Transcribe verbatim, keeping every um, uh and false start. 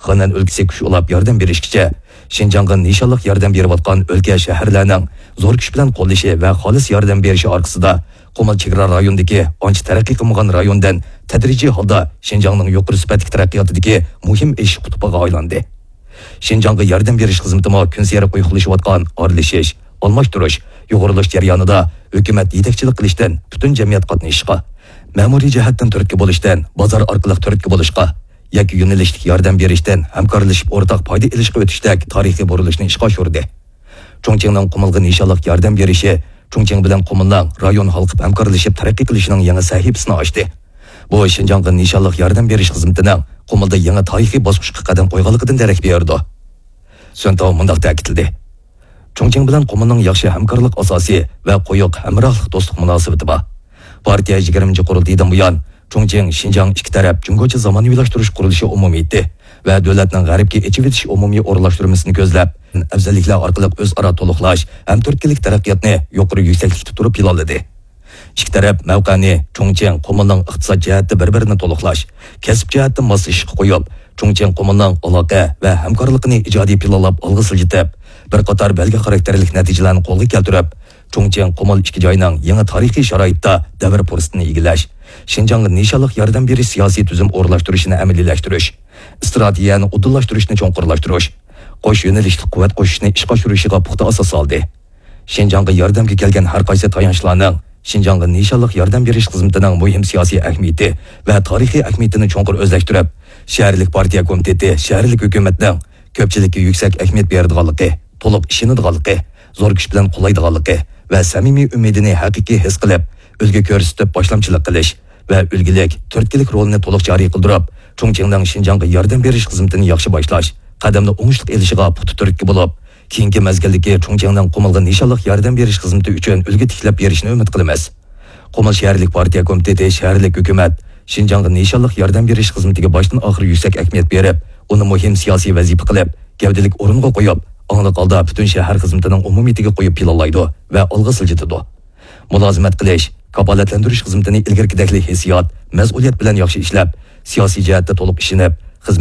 غېنئەن ئۆلكىسى كۈچ ئۇلاپ ياردەم بېرىشكىچە، شىنجاڭغا نىشانلىق ياردەم بېرىۋاتقان ئۆلكە، شەھەرلەرنىڭ زور كۈچ بىلەن قوللىشى ۋە خالىس ياردەم بېرىشى ئارقىسىدا، قۇمۇل چېگرا رايونىدىكى ئانچە تەرەققىي قىلمىغان رايوندىن تەدرىجىي ھالدا شىنجاڭنىڭ يۇقىرى سۈپەتلىك تەرەققىياتىدىكى مۇھىم ئېشىش قۇتۇپىغا ئايلاندى. شىنجاڭغا ياردەم بېرىش خىزمىتىمۇ كۈنسېرى قويۇقلىشىۋاتقان ئارىلىشىش، ئالماشتۇرۇش، يۇغۇرۇلۇش جەريانىدا ھۆكۈمەت يېتەكچىلىك قىلىشتىن پۈتۈن جەمئىيەت قاتنىشىشقا، مەمۇرىي جەھەتتىن تۈرتكە بولۇشتىن بازار ئارقىلىق تۈرتكە بولۇشقا، يەككە يۆنىلىشلىك ياردەم بېرىشتىن ھەمكارلىشىپ ئورتاق پايدا ئېلىشقا ئۆتۈشتەك تارىخىي بۇرۇلۇشنى ئىشقا ئاشۇردى. چۇڭچىڭنىڭ قۇمۇلغا نىشانلىق ياردەم بېرىشى چۇڭچىڭ بىلەن قۇمۇلنىڭ رايون ھالقىپ ھەمكارلىشىپ تەرەققىي قىلىشىنىڭ يېڭى سەھىپىسىنى ئاچتى. بۇ شىنجاڭغا نىشانلىق ياردەم بېرىش خىزمىتىنىڭ قۇمۇلدا يېڭى تارىخىي باسقۇچقا قەدەم قويغانلىقىدىن دېرەك بېرىدۇ. سۈن تاۋ مۇنداق تەكىتلىدى: چۇڭچىڭ بىلەن قۇمۇلنىڭ ياخشى ھەمكارلىق ئاساسى ۋە قويۇق ھەمراھلىق دوستلۇق مۇناسىۋىتى بار. پارتىيە يىگىرمىنچى قۇرۇلتىيىدىن بۇيان، چۇڭچىڭ شىنجاڭ ئىككى تەرەپ جۇڭگوچە زامانىۋىلاشتۇرۇش قۇرۇلۇشى ئومۇمىيىتى ۋە دۆلەتنىڭ غەربكە ئېچىۋېتىش ئومۇمىي ئورۇنلاشتۇرمىسىنى كۆزلەپ، ئەۋزەللىكلەر ئارقىلىق ئۆزئارا تولۇقلاش ھەم تۈرتكىلىك تەرەققىياتنى يۇقىرى يۈكسەكلىكتە تۇرۇپ پىلانلىدى. ئىككى تەرەپ مەۋقەنى چۇڭچىڭ، قۇمۇلنىڭ ئىقتىساد جەھەتتە بىر-بىرىنى تولۇقلاش، كەسىپ جەھەتتە ماسلىشىشقا قويۇپ، چۇڭچىڭ، قۇمۇلنىڭ ئالاقە ۋە ھەمكارلىقىنى ئىجادىي پىلانلاپ ئالغا سىلجىتىپ، بىر قاتار بەلگە خاراكتېرلىك نەتىجىلەرنى قولغا كەلتۈرۈپ، چۇڭچىڭ، قۇمۇل ئىككى جاينىڭ يېڭى تارىخىي شارائىتتا دەۋر پۇرسىتىنى ئىگىلەش، شىنجاڭغا نىشانلىق ياردەم بېرىش سىياسىي تۈزۈم ئورۇنلاشتۇرۇشىنى ئەمەلىيلەشتۈرۈش، ئىستراتېگىيەنى ئۇدۇللاشتۇرۇشنى چوڭقۇرلاشتۇرۇش، قوش يۆنىلىشلىك قۇۋۋەت قوشۇشنى ئىشقا ئاشۇرۇشىغا پۇختا ئاساس سالدى. شىنجاڭغا ياردەمگە كەلگەن ھەر قايسى تايانچلارنىڭ شىنجاڭغا نىشانلىق ياردەم بېرىش خىزمىتىنىڭ مۇھىم سىياسىي ئەھمىيىتى ۋە تارىخىي ئەھمىيىتىنى چوڭقۇر ئۆزلەشتۈرۈپ، شەھەرلىك پارتىيە كومىتېتى شەھەرلىك ھۆكۈمەتنىڭ كۆپچىلىككە يۈكسەك ئەھمىيەت بېرىدىغانلىقى، تولۇق ئىشىنىدىغانلىقى، زور كۈچ بىلەن قوللايدىغانلىقى ۋە سەمىمىي ئۈمىدىنى ھەقىقىي ھېس قىلىپ، ئۈلگە كۆرسىتىپ باشلامچىلىق قىلىش ۋە ئۈلگىلىك، تۈرتكىلىك رولىنى تولۇق جارى قىلدۇرۇپ، چۇڭچىڭنىڭ شىنجاڭغا ياردەم بېرىش خىزمىتىنى ياخشى باشلاش، قەدەمنى ئوڭۇشلۇق ئېلىشىغا پۇختا تۈرتكە بولۇپ، كېيىنكى مەزگىلدىكى چۇڭچىڭنىڭ قۇمۇلغا نىشانلىق ياردەم بېرىش خىزمىتى ئۈچۈن ئۈلگە تىكلەپ بېرىشىنى ئۈمىد قىلىمىز. قۇمۇل شەھەرلىك پارتىيە كومىتېتى شەھەرلىك ھۆكۈمەت شىنجاڭغا نىشانلىق ياردەم بېرىش خىزمىتىگە باشتىن ئاخىر يۈكسەك ئەھمىيەت بېرىپ، ئۇنى مۇھىم سىياسىي ۋەزىپە قىلىپ، گەۋدىلىك ئورۇنغا قويۇپ، ئاڭلىق ھالدا پۈتۈن شەھەر خىزمىتىنىڭ ئومۇمىيىتىگە قويۇپ پىلانلايدۇ ۋە ئالغا سىلجىتىدۇ. مۇلازىمەت قىلىش، كاپالەتلەندۈرۈش خىزمىتىنى ئىلگىرىكىدەكلا ھېسسىيات، مەسئۇلىيەت بىلەن ياخشى ئىشلەپ، سىياسىي جەھەتتە تولۇق ئىشىنىپ، خىزمەت